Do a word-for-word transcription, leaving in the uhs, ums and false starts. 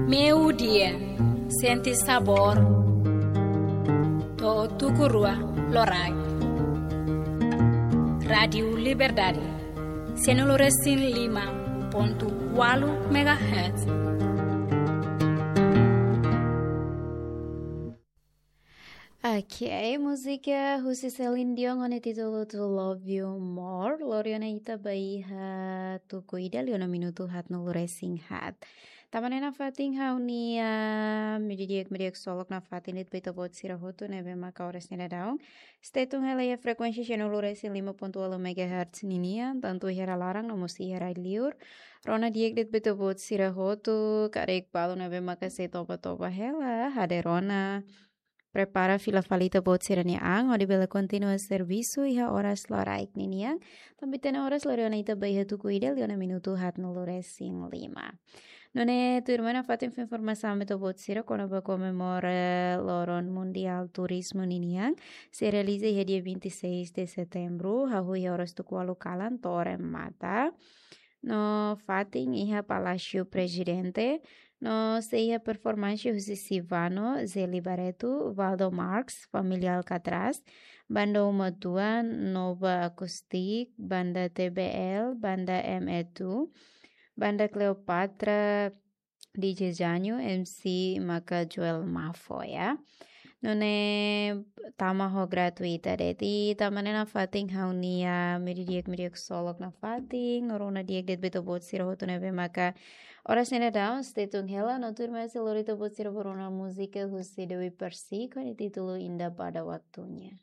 Meiudia, sente sabór. To'o tuku rua loraik. Rádiu Liberdade, sianulu resin lima pontu ualu megahertz. Ok, múzika husi Celine Dion ho nia títulu To Love You More. Lori ona ita ba iha tuku ida liu ona minutu haatnulu resin haat. Tanba ne'e nafatin ha'u-nia, ah, meiudia di'ak, meiudia di'ak ksolok nafatin de'it ba ita-boot sira hotu ne'ebé maka oras ne'e daudaun stay tune hela iha frekuénsia sianulu resin lima pontu ualu megahertz ninian, tantu iha rai laran no mós iha rai liur. Rona di'ak de'it ba ita-boot sira hotu, karik balu ne'ebé maka sei toba-toba hela, hadeer ona, prepara fila fali ita-boot sira-nia an, hodi bele kontinua servisu iha oras loraik ninian. Tanba ita-nia oras lori ona ita ba iha tuku ida liu ona minutu haatnulu resin lima. Nune'e tuirmai nafatin fó informasaun ba ita-boot sira kona-ba komemora Loron Mundiál Turizmu ninian, sei realiza iha dia vinte e seis de setembro, hahú iha oras tuku ualu kalan to'o remata. No fatin iha Palásiu Prezidente, no sei iha performánsia husi Sivano, Zeli Barreto, Valdo Marx, Família Alcatraz, Banda Uma Tua, Nova Acoustic, Banda T B L, Banda M E two, Banda Cleopatra, D J Janho, M C maka Joel Mafo, ya. Nune'e tama ho gratuita de'it. Tanba ne'e nafatin ha'u-nia meiudia di'ak, meiudia di'ak ksolok nafatin, no rona di'ak de'it ba ita-boot sira hotu ne'ebé maka oras ne'e daudaun stay tune hela, no tuirmai sei lori ita-boot sira ba rona múzika husi Dewi Persik ho nia títulu Indah Pada Waktunya.